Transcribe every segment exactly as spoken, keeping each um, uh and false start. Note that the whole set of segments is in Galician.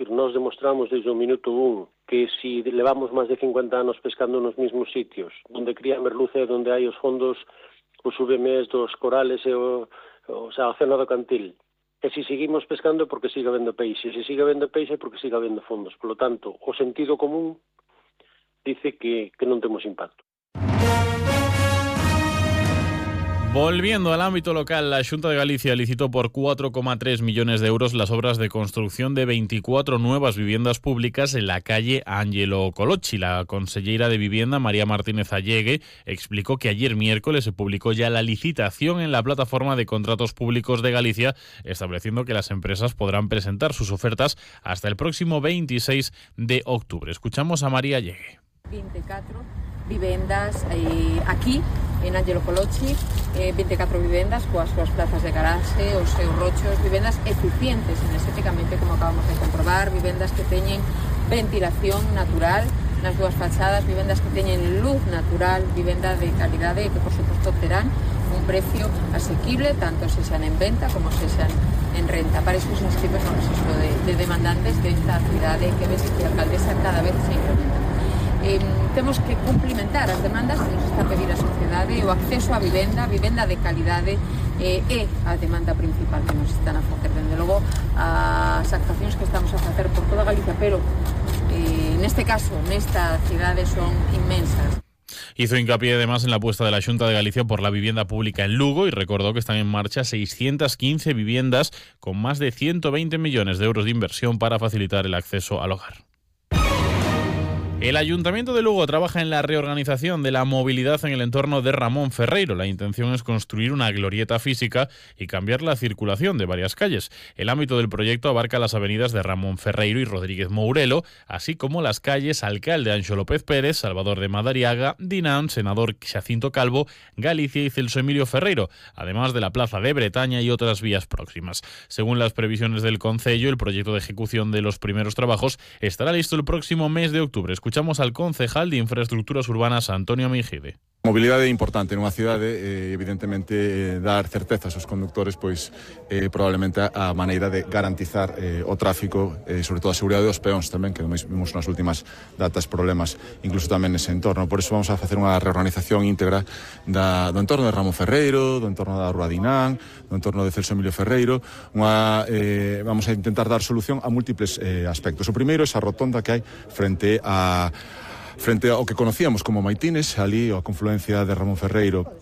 decir, nós demostramos desde o minuto un que si levamos máis de cincuenta anos pescando nos mesmos sitios, onde cría a merluza e onde hai os fondos, os subemés dos corales e o, o, sea, o océano do Cantil. E se seguimos pescando é porque siga habendo peixe, se siga habendo peixe é porque siga habendo fondos. Por lo tanto, o sentido común dice que, que non temos impacto. Volviendo al ámbito local, la Xunta de Galicia licitó por cuatro coma tres millones de euros las obras de construcción de veinticuatro nuevas viviendas públicas en la calle Ángelo Colocci. La consellera de Vivienda, María Martínez Allegue, explicó que ayer miércoles se publicó ya la licitación en la plataforma de contratos públicos de Galicia, estableciendo que las empresas podrán presentar sus ofertas hasta el próximo veintiséis de octubre. Escuchamos a María Allegue. veinticuatro vivendas eh, aquí en Ángelo Colocci, eh, veinticuatro vivendas coas súas plazas de garaxe, os seus rochos, vivendas eficientes enerxéticamente, como acabamos de comprobar, vivendas que teñen ventilación natural nas dúas fachadas, vivendas que teñen luz natural, vivenda de calidade que por suposto terán un precio asequible, tanto se sean en venta como se sean en renta. Para iso se inscriben no registro de, de demandantes desta cidade que ves que a alcaldesa cada vez se incrementa. Eh, temos que cumplimentar as demandas que nos está a pedir a sociedade, o acceso á vivenda, vivenda de calidade eh, é a demanda principal que nos están a facer. Dende logo, as actuacións que estamos a facer por toda Galicia, pero eh, neste caso, nesta cidade son inmensas. Hizo hincapié además en la apuesta de la Xunta de Galicia por la vivienda pública en Lugo y recordó que están en marcha seiscientas quince viviendas con más de ciento veinte millones de euros de inversión para facilitar el acceso al hogar. El Ayuntamiento de Lugo trabaja en la reorganización de la movilidad en el entorno de Ramón Ferreiro. La intención es construir una glorieta física y cambiar la circulación de varias calles. El ámbito del proyecto abarca las avenidas de Ramón Ferreiro y Rodríguez Mourelo, así como las calles Alcalde Anxo López Pérez, Salvador de Madariaga, Dinán, Senador Xacinto Calvo, Galicia y Celso Emilio Ferreiro, además de la Plaza de Bretaña y otras vías próximas. Según las previsiones del Concello, el proyecto de ejecución de los primeros trabajos estará listo el próximo mes de octubre. Escuchamos al concejal de Infraestructuras Urbanas, Antonio Mingide. Mobilidade é importante nunha cidade, eh, evidentemente eh, dar certezas aos conductores, pois eh, probablemente a maneira de garantizar eh, o tráfico, eh, sobre todo a seguridade dos peóns tamén, que vimos nas últimas datas problemas, incluso tamén nese entorno. Por iso vamos a facer unha reorganización íntegra da, do entorno de Ramón Ferreiro, do entorno da Rúa Dinán, do entorno de Celso Emilio Ferreiro. Unha, eh, vamos a intentar dar solución a múltiples eh, aspectos. O primeiro é esa rotonda que hai frente a frente ao que conocíamos como Maitines, ali a confluencia de Ramón Ferreiro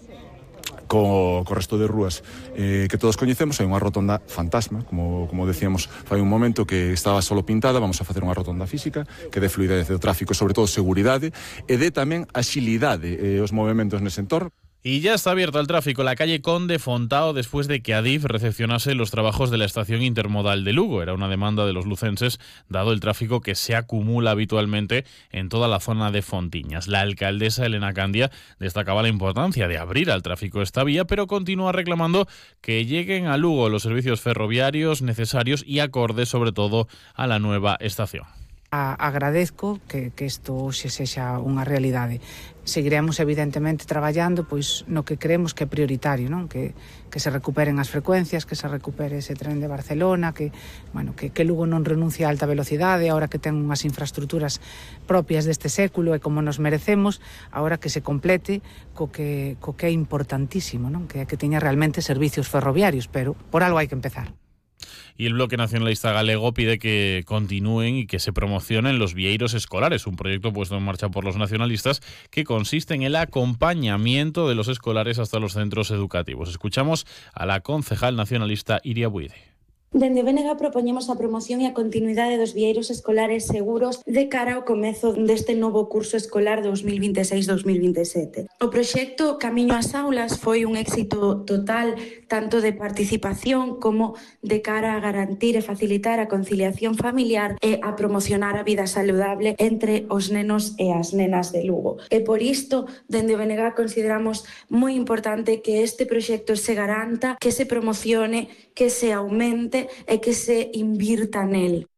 co, co resto de rúas eh, que todos coñecemos. Hai unha rotonda fantasma, como, como decíamos fai un momento, que estaba solo pintada. Vamos a facer unha rotonda física que dé fluidez do tráfico, sobre todo seguridade, e dé tamén axilidade eh, os movimentos nese entorno. Y ya está abierta al tráfico la calle Conde Fontao después de que Adif recepcionase los trabajos de la estación intermodal de Lugo. Era una demanda de los lucenses, dado el tráfico que se acumula habitualmente en toda la zona de Fontiñas. La alcaldesa Elena Candia destacaba la importancia de abrir al tráfico esta vía, pero continúa reclamando que lleguen a Lugo los servicios ferroviarios necesarios y acordes sobre todo a la nueva estación. Agradezco que, que isto hoxe sexa unha realidade. Seguiremos evidentemente traballando pois no que creemos que é prioritario, non? Que, que se recuperen as frecuencias, que se recupere ese tren de Barcelona, que, bueno, que, que Lugo non renuncie a alta velocidade, ahora que ten unhas infraestructuras propias deste século e como nos merecemos, ahora que se complete co que, co que é importantísimo, non? Que, que teña realmente servicios ferroviarios, pero por algo hai que empezar. Y el Bloque Nacionalista Galego pide que continúen y que se promocionen los vieiros escolares, un proyecto puesto en marcha por los nacionalistas que consiste en el acompañamiento de los escolares hasta los centros educativos. Escuchamos a la concejal nacionalista Iria Buide. Dende o B N G propoñemos a promoción e a continuidade dos vieiros escolares seguros de cara ao comezo deste novo curso escolar dos mil vinte e seis dos mil vinte e sete. O proxecto Camiño ás Aulas foi un éxito total, tanto de participación como de cara a garantir e facilitar a conciliación familiar e a promocionar a vida saludable entre os nenos e as nenas de Lugo. E por isto, dende o B N G consideramos moi importante que este proxecto se garanta, que se promocione, que se aumente e que se invirta nel.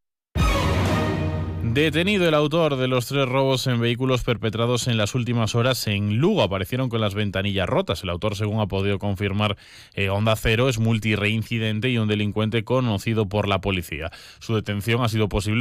Detenido el autor de los tres robos en vehículos perpetrados en las últimas horas en Lugo. Aparecieron con las ventanillas rotas. El autor, según ha podido confirmar eh, Onda Cero, es multireincidente y un delincuente conocido por la policía. Su detención ha sido posible